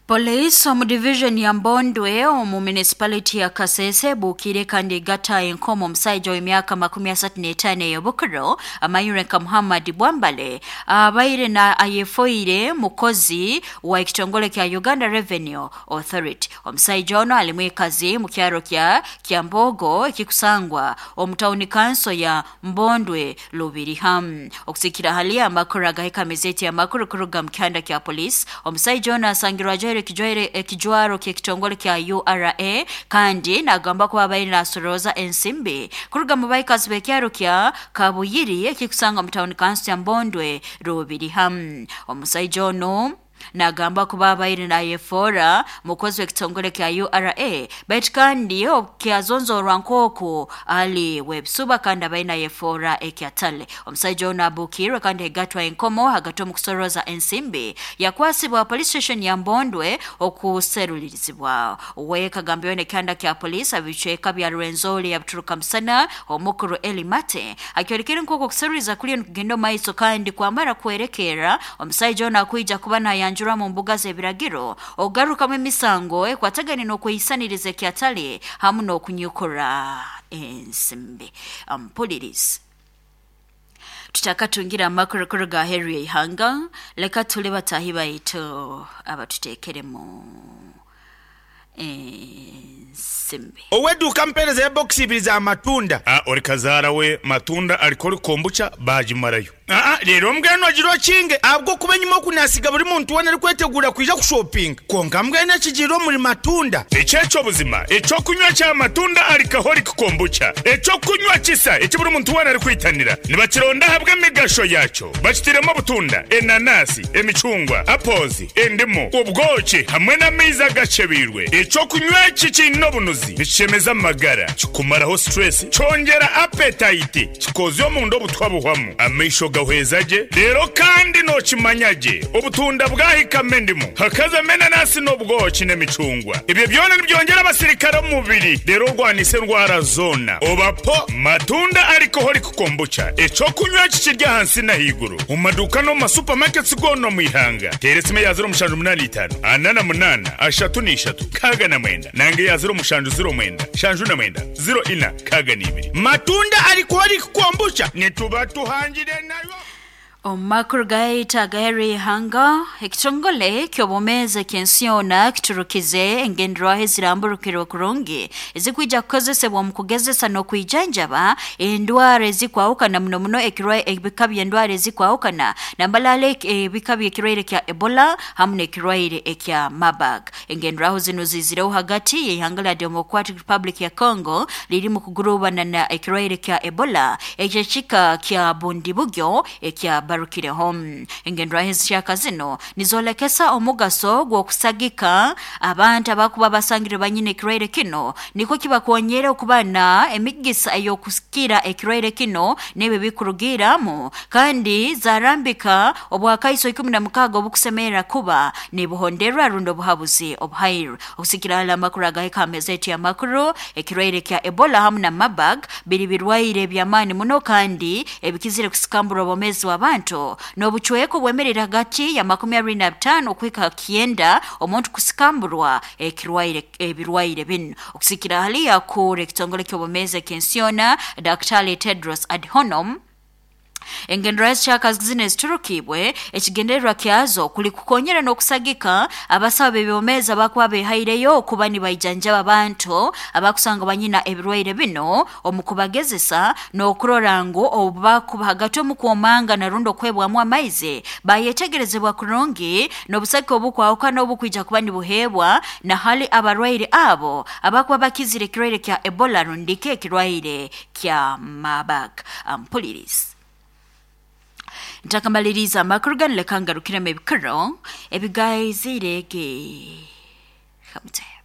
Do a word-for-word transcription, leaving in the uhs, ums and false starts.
Police omu division ya Mbondwe omu municipality ya Kasese bukire kandi gata enkomo omusajja w'emyaka makumi asatu n'etaano ey'obukiro amanyire nka Muhammad Bwambale abaire na ayefoire mukozi wa ekitongole kya Uganda Revenue Authority. Omusajja ono ali mwikazi mu kyaro kya Kyambogo ekikusangwa omu town council ya Mbondwe Lubiriham. Okusikira hali amakuru agahika mizeti amakuru kuruga mu kyanda kya police, omusajja ono asangirwa ajwaire ekijwaire ekijwaro ky'ekitongole kya U R A kandi nagamba kuba abaire nasoroza ensimbi kuruga mu baikazi b'ekyaro kya Kabuyiri ekikusanga mu town council ya Mbondwe Lubiriham. Omusajja ono nagamba kuba abaire nayefora mukozi w'ekitongole kya U R A baitu kandi kyazonzorwa nk'oku ali webisuba kandi abaire nayefora ekyatale. Omusajja ono abukirwe kandi egatwa enkomo hagati omu kusoroza ensimbi yakwasibwa police station ya Mbondwe okuserulirizibwa. Wekagambiwe n'ekyanda kya police abicweka bya Rwenzori yabituruka musana omukuru Eli Mate akyorekere nk'oku okuseruliza kuliyo nikugenda omu maiso kandi kwamara kwerekera omusajja ono akwija kuba nayanjurwa mu mbuga z'ebiragiro ogarukamu emisango ekwatagane n'okweyisaniriza ekyatale hamu n'okunyukura ensimbi. Ampulirizi tutakatungira amakuru kuruga aheeru y'eihanga, leka tule batahi baitu abatuteekeremu ensimbi. Oweduka mpereza ya box ibiri za matunda. Ah, ori kazaara we matunda alikori kombucha bagimarayo. Ah, rero mbwenu agiro kinge abwo kuba nyuma okunasiga buri muntu wena ari kwetegura kwija kushopping. Konka mbwenu ekigiro muri matunda. Ekyekyo buzima, ekyokunywa kya matunda alikahori kombucha. Ekyokunywa kisa eki buri muntu wena ari kwitanira. Nibakironda habwe emigasho yakyo. Bakitiremo obutunda, enanasi, emicungwa, apozi, endimu, ubwoki hamwe n'amaizi agacebirwe. Ekyokunywa eki kiine obunuzi, nikishemeza amagara, kikumaraho stress, kyongera appetite, kikozya omunda obutwa buhwamu, amaisho gahweza gye, rero kandi nokimanya gye, obutunda bwahikamo endimu, hakazamo enanasi n'obwoki n'emicungwa. Ebyo byona nibyongera abasirikare omu mubiri, rero orwanise endwara zoona. Obapo matunda alcoholic kombucha, ekyokunywa eki kiri ahansi n'ahaiguru, omu maduuka n'omu masupamaketi goona omu ihanga. Teera esimu eya ziro mushanju munaana itaano, ana na munaana, ashatu n'ishatu, nkaaga na mwenda, nange eya ziro mushanju ziro mwenda, shanju na mwenda, ziro ina, nkaaga n'ibiri. Matunda alcoholic kombucha nituba tuhangire nayo. Omu makuru gaita agaheeru y'eihanga, ekitongole ky'obwomeezi eky'ensi yoona kiturukize engenderwaho eziramburukirwe kurungi ezikwija kukozesebwa omu kugezesa n'okwijanjaba endwara ezikwahukana muno muno ebika by'endwara ezikwahukana nambalala ebika by'ekirwaire kya Ebola hamu n'ekirwaire ekya Marburg. Engenderwaho zinu zizireho hagati y'ihanga lya Democratic Republic ya Congo lirimu kugurubana na ekirwaire kya Ebola ekyekika kya Bundibugyo ekya barukireho. Engenderwaho ezikyaka zino nizolekesa omugaso gw'okusagika abantu abakuba basangire banyine ekirwaire kino niko kibakonyera okuba na emigisa ey'okusikira ekirwaire kino n'ebyo bikurugiramu kandi zarambika obwakaiso ikumi na mukaaga obukusemerera kuba nibuhonderwa rundi obuhabuzi obuhairwe. Okusikira hala amakuru agahika amezeti amakuru, ekirwaire kya Ebola hamu na Marburg biri birwaire by'amaani muno kandi ebikizire kusikambura obwomeezi bw'abantu n'obucweko bwemerera hagati ya makumi abiri na bitaano okuhika kyenda omuntu kusikamburwa ekirwaire ebirwaire binu. Okusikira hali yakura ekitongole ky'obwomeezi eky'ensi yoona Daktari Tedros Adhanom, engenderwaho ezikyaka zino eziturukibwe ekigendererwa kyazo kuli kukonyera n'okusagika abasawo b'ebyomeezi abakuba behaireyo okuba nibaijanjaba abantu abakusanga banyina ebirwaire bino omu kubagezesa n'okurora ngu obu bakuba hagati omu kwomanga na rundi okwebwamu amaizi bayetegerezebwa kurungi n'obusagika obukwahukana obukwija kuba nibuheebwa na hali abarwaire abo abakuba bakizire ekirwaire kya Ebola rundiki ekirwaire kya Marburg. Ampulirizi ntakamaliriza amakuru ganu leka ngarukiremu ebikiro ebigaizire ge hamute.